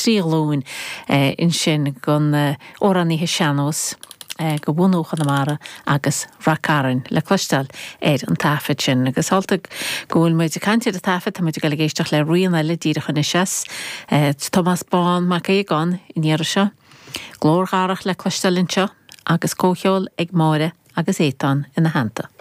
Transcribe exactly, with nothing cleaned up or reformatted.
trí ghlúin ansin den amhránaithe sean-nós de bhunadh Chonamara agus Rath Cairn le cloisteáil ar an taifead sin. Agus amhlaidh go bhfuil muid ag caint ar an taifead, tá muid ag dul ag éisteacht le rian eile díreach anois as Tomás Bán Mac Aogáin an iarraidh seo. Glór Dharach le cloisteáil anseo agus comhcheol ag Máire agus Étáin ina theannta.